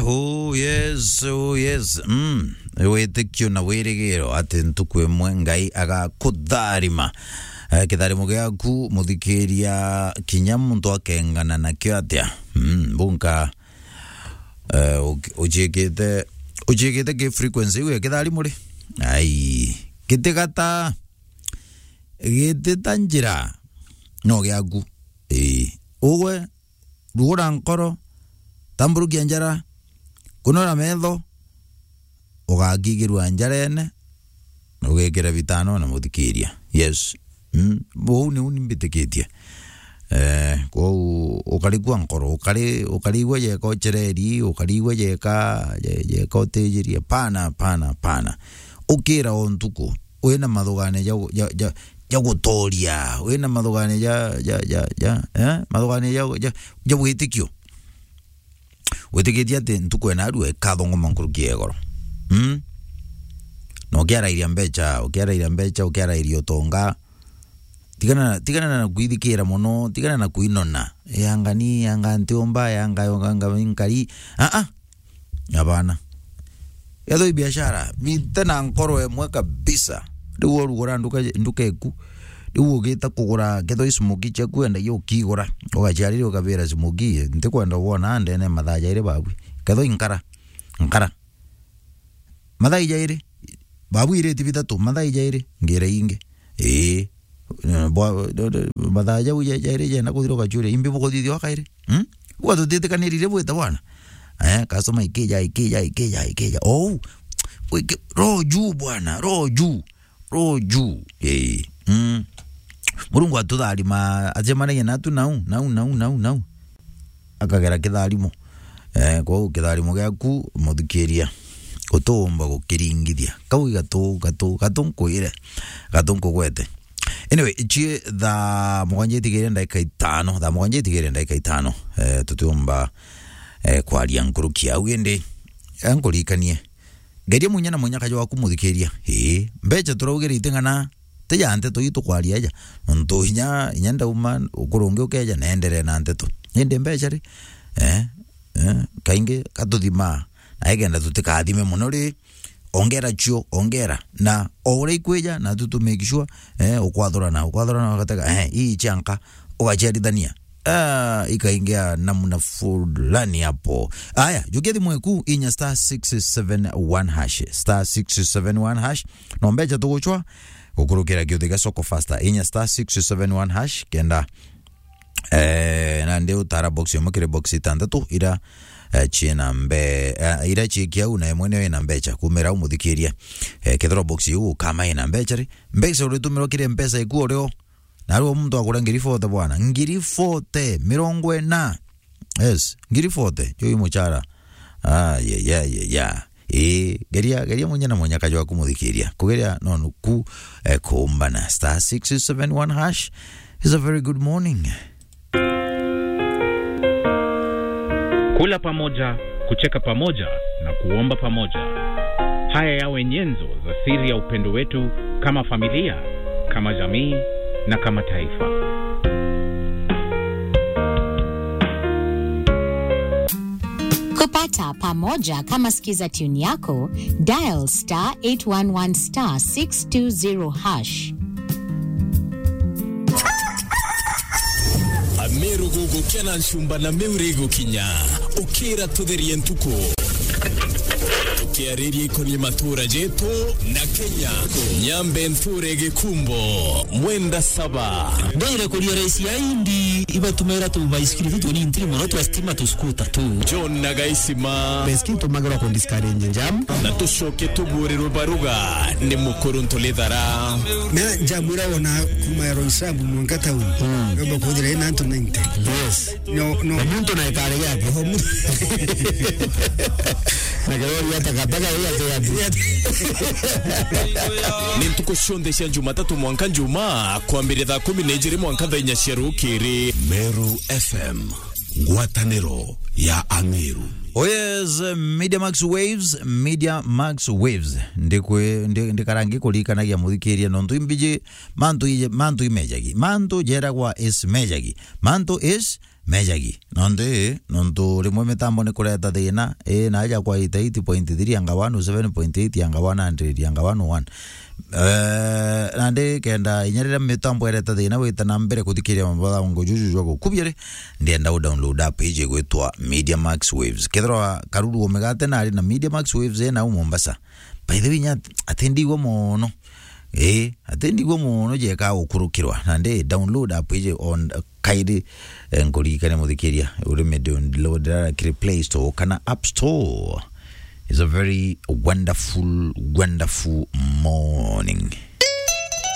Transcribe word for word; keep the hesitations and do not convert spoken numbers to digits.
Oh yes, oh yes. Mm. Witikio na wirigiro ati ntuku imwe Ngai agakutharima. Eh, kitharimo giaku, muthikiria, kinya muntu akengana nakio atia. Mm, bunka, eh, uki-, uciikite, uciikite ki frequency iu ya kitharimo ri? Ai, gitigata, gitita njira, no giaku. Ii. Ugwe, rugura nkoro, tamburukia njara, kunura metho, ugakigirua njarene, ugekira bitano na muthikiria. Yes. Mm, buu niu ni mbitikitie. Eh, kwou ukarigua nkoro, ukari-, ukarigua jeka ucereri, ukarigua jeka, je-, jeka utijirie. Pana, pana, pana. Ukira o ntuku, wina mathugania ja, ja, ja, ja gutoria, wina mathugania ja, ja, ja, ja, eh? Mathugania ja, ja, ja witikio. Witikitie ati ntuku ena arua ikathongoma nkuruki ya igoro. Mm? Na ukiarairia mbecha, ukiarairia mbecha, ukiarairia utonga. Tigana, tigana na kwithikira mono, tigana na kwinona. Yanga ni, yanga ntiumba, yanga, yanga, yanga nkari. Ah, ah. Abana. Ethwa i biashara, bite na nkoro emwe kabisa. Riu urugura nduka, nduka eku. Riu ugita kugura, kethwa i smoki ciaku endagia ukigura. Ugaciarire ukabira smoki, ntikwenda wona ndene mathaa jairi babwi. Kethwa i nkara, nkara. Mathaa jairi, babwiriti bitatu, mathaa jairi, ngira ingi. Ii. Eh, bwa, do, do, mathaa jau ja, jairi jenda kuthira ugacuria, imbi bukuthithia wakairi? Hmm? Uga tutitikanirire bwita bwana. Eh, customer ikija, ikija, ikija, ikija. Oh, wiki, roho juu bwana, roho juu, roho juu. Ii. Mm. Murungu atutharima, acemanagia natu nau, nau, nau, nau, nau. Akagera kitharimo. Eh, kwou kitharimo giaku, muthikiria, utiumba gukiringithia. Kau i gatu, gatu, gatu nkwire, gatu nkugwete. Anyway, ici thaa mugwanja itigire ndagika itano, thaa mugwanja itigire ndagika itano, eh, tutiumba, eh, kwaria nkuruki au indi, eh, nkuririkanie. Geria munya na munyaka jwaku muthikiria. Ii, mbecha turaugire iting'ana, ti ja nteto ii tukwaria aja. Nontu inya, inya ndauma, ukuru ungi ukeja, na enderee na nteto. Indi mbecha ri? Eh, eh, kaingi katuthimaa. Na igenda tutikathime mono ri, ongera cio, ongera. Na o uria ikwija, na tu, tu make sure, eh, ukwathurana, ukwathurana ugatega, eh, ii cia nka, ugaciarithania. Ah, ikaingia namna fulani hapo. Aya, jukia thimu eku inya star six seven one hash. Star six seven one hash. No mbecha tuguchwa, gukurukira kiuthi gia Soko Faster. Inya star six seven one hash, kenda, eh, na ndi utara box imwe kiri box itantatu ira, eh, ciina mbe-, eh, ira ciiki au na imwe niyo ina mbecha. Kumira au muthikiria. Eh, kethirwa box iu ukama ina mbecha ri, mbecha uritumirwa kiri mpesa iku urio. Na riu muntu agura ngiri forty bwana. Ngiri forty, mirongo ina. Yes, ngiri forty, juu i muchara. Ah, ye, ye, ye, ya. Ii, geria, geria munya na munyaka jwaku muthikiria. Kugeria no nuku, eh, kuumbana. Star six seven one hash is a very good morning. Kula pamoja, kucheka pamoja na kuomba pamoja. Haya yawe nyenzo za siri ya upendo wetu kama familia, kama jamii na kama taifa. Kupata pamoja kama sikiza tune yako, dial star eight one one star six two zero hash. Ameru gugukena nchumba na miuri igukinya. Ukira tutherie ntuku. Tukiariria ikonie matura jetu na Kenya. Nyambe nture gikumbo, mwenda saba. Ndire kuria raisi ya indi, ibatumira tu baisikiri tu tunini mono twa stima tu skuta tu. John na Gaisima. Baisikiri tumagirwa ku discourage jam. Na tucoke tugurirwe baruga ni mukuru Ntulithara. Na jam ira wona kuma ya Roysambu mwanka town. Mm. Yomba kuthira ina antu ninety. Yes. No, no. Na muntu na ikare yake. Oho, mu- Na karori ya takataka hiyo ate yake. Ni ntuku cionthe cia Jumatatu mwanka Njumaa, kwambire thaa kumi na ijiri mwanka thaa inya cia rukiri. Meru F M, ngwataniro ya Ameru. Oh yes, Media Max Waves, Media Max Waves. Ndikwe-, ndi-, ndikara ngikuririkanagia muthikiria nontu imbiji, mantu ije, mantu imejagi. Mantu jeragwa is mejagi. Mantu is mejagi. Nontu ii, nontu rimwe mitambo ni kureta thina, ii, na aja kwa eighty-eight point three anga one, seven point eight anga one hundred anga one oh one. Eh, nandi kenda inya riria mitambo ireta thina wita na mbere kuthikiria mabongo juju jwa gukubia ri, ndienda u download app iji igwitwa Media Max Waves. Kethirwa Karuru Omegate nari na Media Max Waves ena u Mombasa. By the way, nya at-, atindigwa mono. Eh, atindigwa mono jeka gukurukirwa. Nandi download app iji on, eh, kairi, eh, nkuririkania muthikiria, uri mi download ra kiri Play Store kana App Store. It's a very wonderful, wonderful morning.